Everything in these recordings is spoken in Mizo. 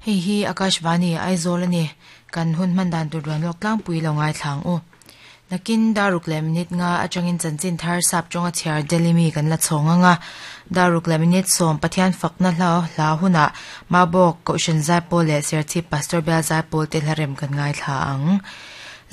Hei hi Akashvani, Aizawl a ni. Kan hun hman dan tur duan lawk tlangpui lo ngaithla ang u. Nakin daruk leh minute nga atangin chanchin thar sap tawnga chhiar Delhi mi kan la chhawng ang a. Daruk leh minute sawm Pathian fakna hla hla hunah Mabawk, Kohhran Zaipawl leh Serchhip Pastor Bial Zaipawl te hlarem kan ngaithla ang.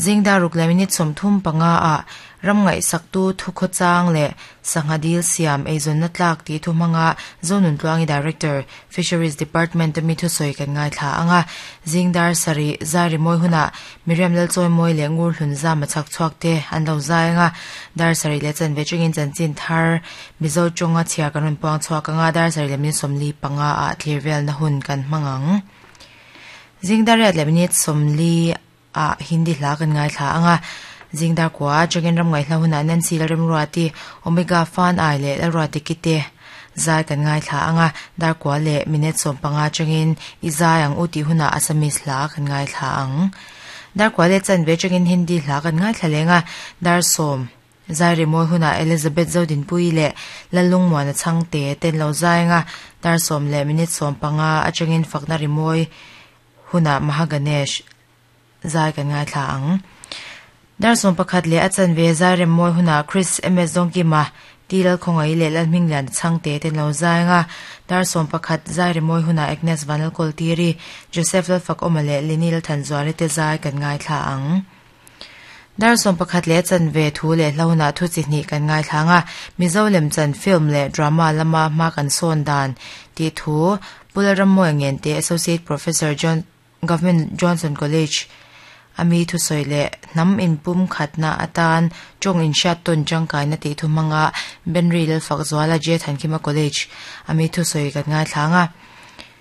Zing daruk leh minute 35 ah Ram ngaihsaktu thukhawchang leh sangha dil siam eizawnna tlak tih thu hmanga Zonuntluangi Director, Fisheries Department a mi thusawi kan ngaithla ang a, zing dar sarih zai rimawi hunah Miriam Lalchawimawi leh Ngur Hlun Zama chhak chhuak te an lo zai ang a, dar sarih leh chanve chungin chanchin thar Mizo tawnga chhiar kan rawn puang chhuak ang a, dar sarih leh minute 45 ah thlir velna hun kan hmang ang. Zing dar riat leh minute 40 ah Hindi hla kan ngaithla ang a, zing dar kua atangin ram ngaihhla hunah Nancy Lalremruati, Omega Fan Ai leh Lalruati Kite zai kan ngaithla ang a, dar kua leh minute 15 atangin I zai ang u tih hunah Assamese hla kan ngaithla ang. Dar kua leh chanve atangin Hindi hla kan ngaithla leng a, dar 10 zai rimawi hunah Elizabeth Zodinpuii leh Lallungmuana Chhangte ten lo zai ang a, dar 10 leh minute 15 atangin fakna rimawi hunah Mahaganesh zai kan ngaithla ang. Dar 11 leh a chanve zai rem mawi hunah Chris MS Dawngkima, T Lalkhawngaih leh Lalhminglian Chhangte ten lo zai ang a. Dar 11 zai rem mawi hunah Agnes Vanlalkawltiri, Joseph Lalfakawma leh Lini Lalthanzuali te zai kan ngaithla ang. Dar 11 leh a chanve thu leh hla hunah thu chi hnih kan ngaithla ang a, Mizo lemchan film leh drama lama hma kan sawn dan tih thu Pu Lalrammawia Ngente, Associate Professor John Government Johnson College a mi thusawi leh hnam inpum khatna atan tawng inhriat tawn tangkaina tih thu hmanga Benri Lalfakzuala J Thankhima College a mi thusawi kan ngaithla ang a.